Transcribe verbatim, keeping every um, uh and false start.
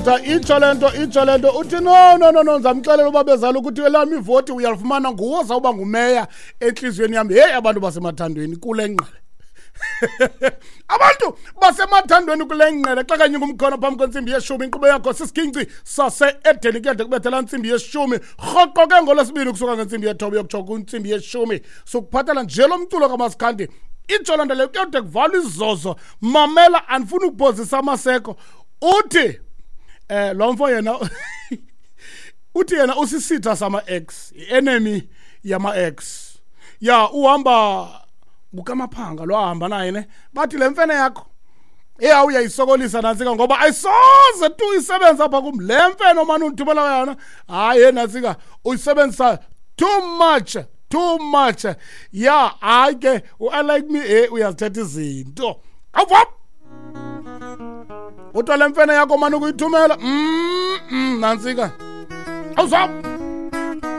Itsho le nto, itsho le nto. Uthi no, no, no, no, ndizamxelela uba bezala ukuthi elam ivoti uyalifumana, nguwo zawuba ngumeya entliziyweni yam. Heyi, abantu basemathandweni kule ngqele, abantu basemathandweni kule ngqele. Xa kanye ngumkhono phambi kwentsimbi yeshumi, inkqubo yakho sisiginci sase-Edeni. Kuyade kubethela ntsimbi yeshumi rhoqo ke ngolwesibini, kusuka ngentsimbi yethoba yokutsho kwintsimbi yeshumi, sokuphathela nje lo mculo kamaskandi. Itsho loo nto leyo, kuyode kuvalwa izozo. Mamela, andifuni ukuphozisa amaseko. Uthi eh lo mfo yena, uthi yena usisitha sama-ex, i-enemy yama-ex. Ya, uhamba ngukamaphanga lo ahamba naye ne, bathi le mfene yakho eya uyayisokolisa nantsika, ngoba ayisoze tu isebenza apha kum le mfene omane undithumela yona. Hayi ye nantsika, uyisebenzisa too much, too much. Ya, hayi ke, u-I like me, eh uyazithetha izinto. Awuvap, kuthiwa le mfene yakho mane ukuyithumela mm, mm, nantsika, awuzap.